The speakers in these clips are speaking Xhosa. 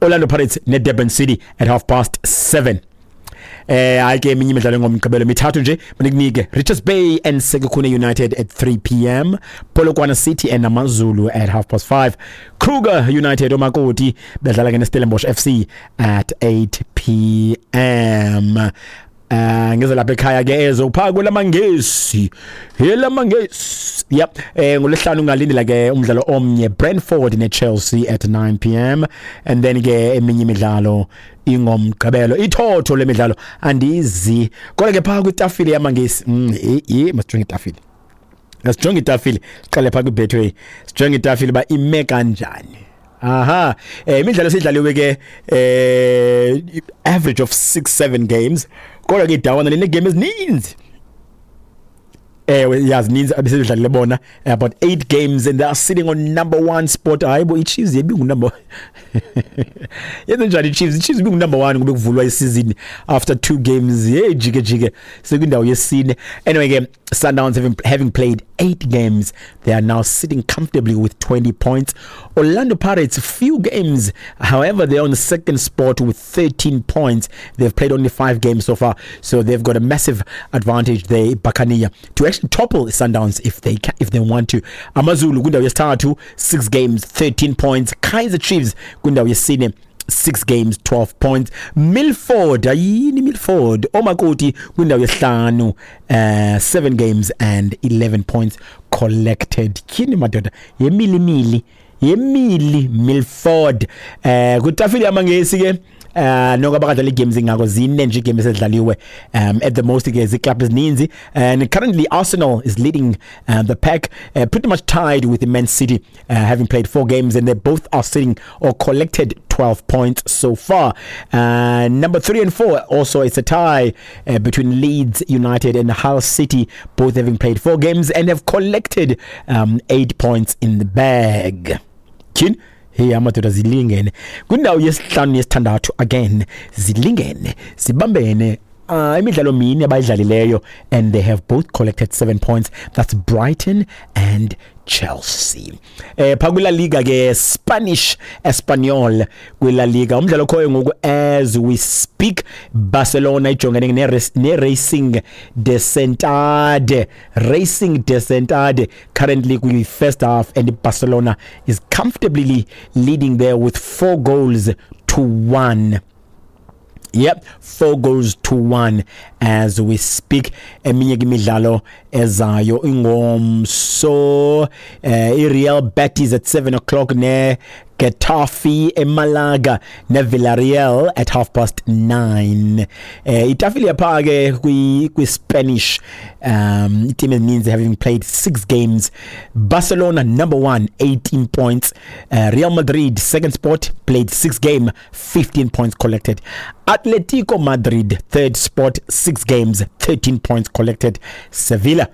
Orlando Pirates neDurban City at 7:30. Hayi ke, eminye imidlalo ngomgqibelo mithathu nje manikunike: Richards Bay and Sekhukhune United at 3 p.m., Polokwane City and AmaZulu at 5:30, Kruger United, omakoti, bedlala ke neStellenbosch FC at 8 p.m. Ngeze lapha ekhaya ke, ezo pha kwelamangesi, elamangesi, yep. Ngolesihlanu ungalindela ke umdlalo omnye, Brentford neChelsea at 9 p.m., and then ke eminye imidlalo ingomgqibelo, ithotho lemidlalo andizi. Kodwa ke pha kwitafile yamangesi, masijonge itafile, sijonge itafile, siqale pha kwiBetway, sijonge itafile ba ime kanjani. Aha, imidlalo sidlaliwe ke, average of 6 7 games, kodwa ke idawana line game ezininzi. Ewe, yazininzi abesedlalile bona, about 8 games, and they are sitting on number 1 spot. Hayibo, iChiefs yebingu number, yenze njani iChiefs? IChiefs ibingu number 1 kube kuvulwa isizini, after 2 games, hey, jike jike, sekwindawo yesine. Anyway ke, Sundowns having played 8 games, they are now sitting comfortably with 20 points. Orlando Pirates, few games, however, they're on the second spot with 13 points. They've played only 5 games so far, so they've got a massive advantage there, Buccaneer, to actually topple Sundowns if they can, if they want to. AmaZulu kwindawo yesithathu, 6 games, 13 points. Kaizer Chiefs kwindawo yesine, 6 games, 12 points. Milford, ayini Milford, omakoti, kwindawo yesihlanu, 7 games and 11 points collected. Tyhini madoda, yemilimili, yemili Milford. Kwitafile yamangesi ke, noko abakadlala igames ingako, zine nje igames edlaliwe at the most ke, ziclub ezininzi, and currently Arsenal is leading the pack, pretty much tied with the Man City, having played 4 games, and they both are sitting or collected 12 points so far. Number 3 and 4, also it's a tie between Leeds United and Hull City, both having played 4 games and have collected 8 points in the bag. Tyhini, hey, amadoda, zilingene kwindawo yesihlanu yesithandathu again, zilingene, zibambene. Imidlalo mini abayidlalileyo, and they have both collected 7 points. That's Brighton and Chelsea. Pha kula Liga ke, Spanish, Espanyol, kwila Liga, umdlalo khoyo ngoku as we speak, Barcelona ijongene ne Racing de Santander. Racing de Santander, currently kwi first half, and Barcelona is comfortably leading there with 4 goals to 1. Yep, 4 goals to 1 as we speak. Eminye ke imidlalo ezayo ingomso, iReal Betis at 7 o'clock ne Getafe, eMalaga ne Villarreal at 9:30. Itafile yapha ke kwi Spanish, team ezininzi having played 6 games. Barcelona number 1, 18 points. Real Madrid second spot, played 6 game, 15 points collected. Atletico Madrid third spot, 6 games, 13 points collected. Sevilla,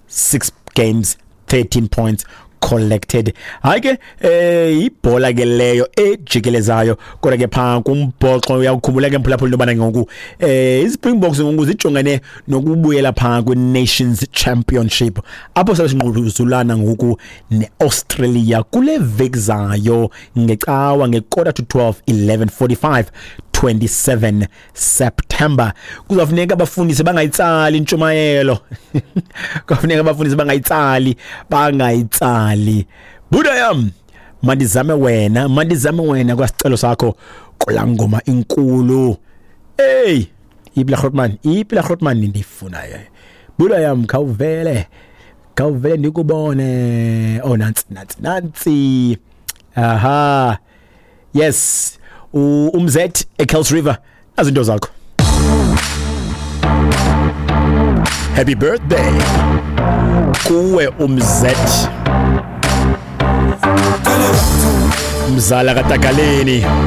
6 games, 13 points collected. Hayi ke, ibhola ke leyo ejikelezayo. Kodwa ke pha kumbhoxo, uyakukhumbula ke, mphulaphula, intobana ngoku iSpringboks ngoku zijongene nokubuyela pha kwi-Nations Championship, apho sabe sinquzulana ngoku neAustralia kule veki zayo ngecawa nge-11:45, 11:45, 27 September. Kuzafuneka abafundisi bangayitsali intshumayelo, kufuneka abafundisi bangayitsali, bangayitsali. Buda yam, mandizame wena, mandizame wena kwasicelo sakho kulaa ngoma inkulu. Hey, iphi la Grootman? Iphi la Grootman ndiyifunayo? Buda yam, khawuvele, khawuvele ndikubone. Oh, nantsi, nantsi, nantsi. Aha, yes, umzet eKells River, nazo into zakho. Happy birthday kuwe, umzet, mzala katakaleni.